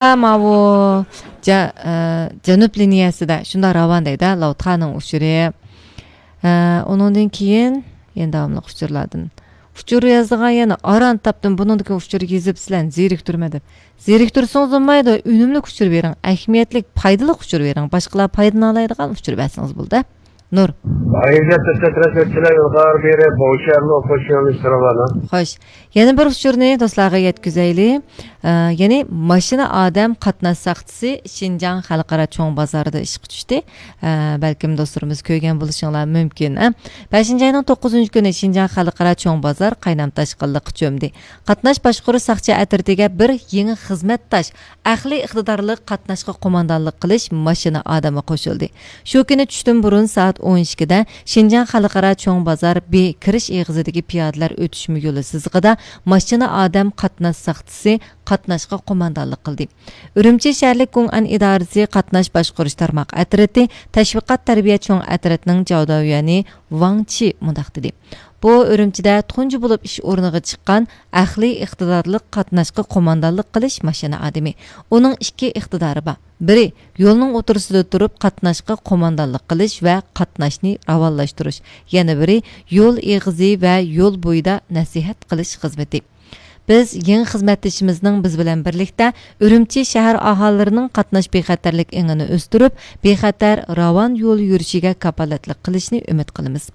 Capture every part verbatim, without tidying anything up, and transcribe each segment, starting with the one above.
ماۋۇ جە-، ئە، جەنۇب لىنىيەسىدە شۇنداق راۋان دەيدۇ، لاۋتانىڭ ئۇچۇرى. ئە، ئۇنىڭدىن كېيىن يەنە داۋاملىق ئۇچۇرلاردىن. ئۇچۇر يازىدىغان يەنە ئاران تاپتىم، بۇنىڭدىكى ئۇچۇر يېزىپ سىلەرنى زېرىكتۈرمە دەپ. زېرىكتۈرسىڭىز بولمايدۇ، ئۈنۈملۈك ئۇچۇر بېرىڭ، ئەھمىيەتلىك، پايدىلىق ئۇچۇر بېرىڭ، باشقىلار پايدىلىنالايدىغان ئۇچۇر بەرسىڭىز بولدى. نۇر. ئايزەت تەترەتلەر ئىلغار بېرى بوشەرلو خوشياللىشتۇرۇۋالىڭ. خوش. يەنە بىر ئۇچۇرنى دوستلارغا يەتكۈزەيلى. ئە، يەنى ماشىنا ئادەم قاتناش ساقچىسى شىنجاڭ خەلقئارا چوڭ بازارىدا ئىشقا چۈشتى. ئە، بەلكىم دوستلىرىمىز كۆرگەن بولۇشۇڭلار مۇمكىن، ئە. بەشىنچى ئاينىڭ توققۇزىنچى كۈنى شىنجاڭ خەلقئارا چوڭ بازار قاينام تاشقىنلىققا چۆمدى. قاتناش باشقۇرۇش ساقچى ئەترىتىگە بىر يېڭى خىزمەتداش، ئەقلىي ئىقتىدارلىق قاتناشقا قوماندانلىق قىلىش ماشىنا ئادەمى قوشۇلدى. شۇ كۈنى چۈشتىن بۇرۇن سائەت ئون ئىككىدە شىنجاڭ خەلقئارا چوڭ بازار بى كىرىش ئېغىزىدىكى پىيادىلەر ئۆتۈشمە يولى سىزىقىدا ماشىنا ئادەم قاتناش ساقچىسى قاتناشقا قوماندانلىق قىلدى. ئۈرۈمچى شەھەرلىك گۇڭئەن ئىدارىسى قاتناش باشقۇرۇش تارماق ئەترىتى تەشۋىقات تەربىيە چوڭ ئەترىتىنىڭ جاۋداۋيۈەنى ۋاڭ چى مۇنداق دېدى: بۇ ئۈرۈمچىدە تۇنجى بولۇپ ئىش ئورنىغا چىققان ئەقلىي ئىقتىدارلىق قاتناشقا قوماندانلىق قىلىش ماشىنا ئادىمى. ئۇنىڭ ئىككى ئىقتىدارى بار. بىرى، يولنىڭ ئوتتۇرىسىدا تۇرۇپ قاتناشقا قوماندانلىق قىلىش ۋە قاتناشنى راۋانلاشتۇرۇش. يەنە بىرى، يول ئېغىزى ۋە يول بويىدا نەسىھەت قىلىش خىزمىتى. بىز يېڭى خىزمەتدىشىمىزنىڭ بىز بىلەن بىرلىكتە ئۈرۈمچى شەھەر ئاھالىلىرىنىڭ قاتناش بىخەتەرلىك ئېڭىنى ئۆستۈرۈپ، بىخەتەر، راۋان يول يۈرۈشىگە كاپالەتلىك قىلىشىنى ئۈمىد قىلىمىز.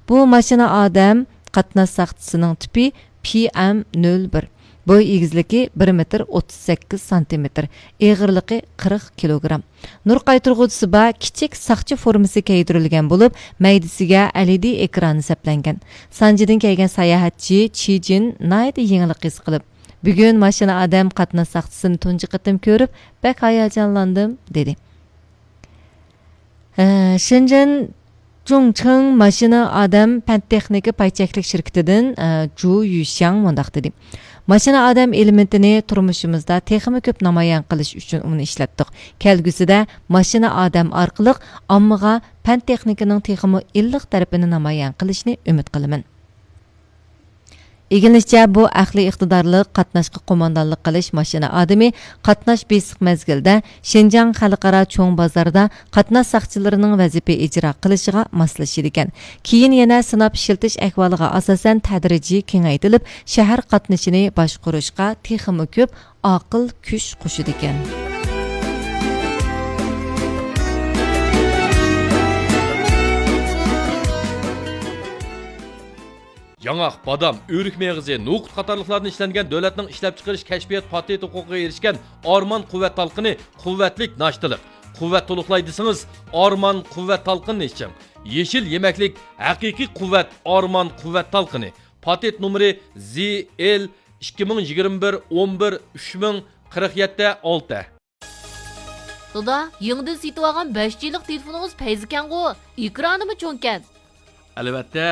بۇ ماشىنا ئادەم قاتناش ساقچىسىنىڭ تىپى پى ئەم نۆل بىر. بوي ئېگىزلىكى بىر مېتىر ئوتتۇز سەككىز سانتىمېتىر، ئېغىرلىقى قىرىق كىلوگرام. نۇر قايتۇرغۇچىسى بار كىچىك ساقچى فورمىسى كىيدۈرۈلگەن بولۇپ، مەيدىسىگە ئەل ئى دى ئېكرانى سەپلەنگەن. سانجىدىن كەلگەن ساياھەتچى چى جىن ناھايىتى يېڭىلىق ھېس قىلىپ، بۈگۈن ماشىنا ئادەم قاتناش ساقچىسىنى تۇنجى قېتىم كۆرۈپ، بەك ھاياجانلاندىم، دېدى. ئە، شېنجېن جۇڭچىڭ ماشىنا ئادەم پەن تېخنىكا پاي چەكلىك شىركىتىدىن، ئە، جۇ يۈشياڭ مۇنداق دېدى: ماشىنا ئادەم ئېلېمېنتىنى تۇرمۇشىمىزدا تېخىمۇ كۆپ نامايان قىلىش ئۈچۈن ئۇنى ئىشلەتتۇق. كەلگۈسىدە ماشىنا ئادەم ئارقىلىق ئاممىغا پەن تېخنىكىنىڭ تېخىمۇ ئىللىق تەرىپىنى نامايان قىلىشنى ئۈمىد قىلىمەن. ئىگىلىنىشىچە، بۇ ئەقلىي ئىقتىدارلىق قاتناشقا قوماندانلىق قىلىش ماشىنا ئادىمى قاتناش بېسىق مەزگىلدە شىنجاڭ خەلقئارا چوڭ بازاردا قاتناش ساقچىلىرىنىڭ ۋەزىپە ئىجرا قىلىشىغا ماسلىشىدىكەن. كېيىن يەنە سىناپ ئىشلىتىش ئەھۋالىغا ئاساسەن تەدرىجىي كېڭەيتىلىپ، شەھەر قاتنىشىنى باشقۇرۇشقا تېخىمۇ كۆپ ئاقىل كۈچ قوشىدىكەن. ياڭاق، بادام، ئۆرۈك مېغىزى، نوقۇت قاتارلىقلاردىن ئىشلەنگەن دۆلەتنىڭ ئىشلەپچىقىرىش كەشپىيات پاتېنت ھوقۇقىغا ئېرىشكەن ئارمان قۇۋۋەت تالقىنى قۇۋۋەتلىك ناشتىلىق. قۇۋۋەت تولۇقلاي دېسىڭىز، ئارمان قۇۋۋەت تالقىنىنى ئىچىڭ. يېشىل يېمەكلىك، ھەقىقىي قۇۋۋەت، ئارمان قۇۋۋەت تالقىنى. پاتېنت نومۇرى زى ئېل ئىككى مىڭ يىگىرمە بىر ئون بىر ئۈچ مىڭ قىرىق يەتتە ئالتە. دادا، يېڭىدىن سېتىۋالغان بەش جى لىق تېلېفونىڭىز پەيزىكەنغۇ؟ ئېكرانىمۇ چوڭكەن. ئەلۋەتتە،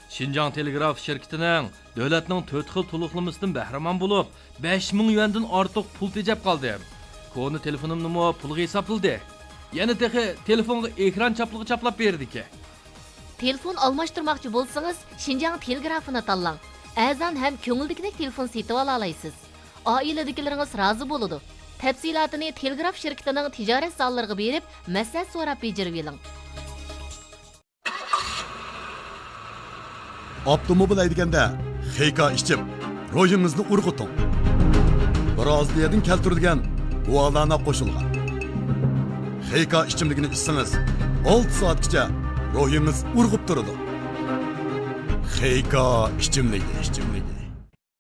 شىنجاڭ تېلېگراف شىركىتىنىڭ دۆلەتنىڭ تۆت خىل تولۇقلىمىسىدىن بەھرىمەن بولۇپ، بەش مىڭ يۈەندىن ئارتۇق پۇل تېجەپ قالدىم. كونا تېلېفونۇمنىمۇ پۇلغا ھېسابلىدى. يەنە تېخى تېلېفونغا ئېكران چاپلىقى چاپلاپ بېرىدىكەن. تېلېفون ئالماشتۇرماقچى بولسىڭىز، شىنجاڭ تېلېگرافىنى تاللاڭ. ئەرزان ھەم كۆڭۈلدىكىدەك تېلېفون سېتىۋالالايسىز. ئائىلىدىكىلىرىڭىز رازى بولىدۇ. تەپسىلاتىنى تېلېگراف شىركىتىنىڭ تىجارەت زاللىرىغا بېرىپ، مەسلىھەت سوراپ بېجىرىۋېلىڭ. ئاپتوموبىل ھەيدىگەندە خېيكا ئىچىم، روھىڭىزنى ئۇرغۇتۇڭ. برازىلىيەدىن كەلتۈرۈلگەن گۇالانا قوشۇلغان خېيكا ئىچىملىكىنى ئىچسىڭىز، ئالتە سائەتكىچە روھىڭىز ئۇرغۇپ تۇرىدۇ. خېيكا ئىچىملىكى، ئىچىملىكى.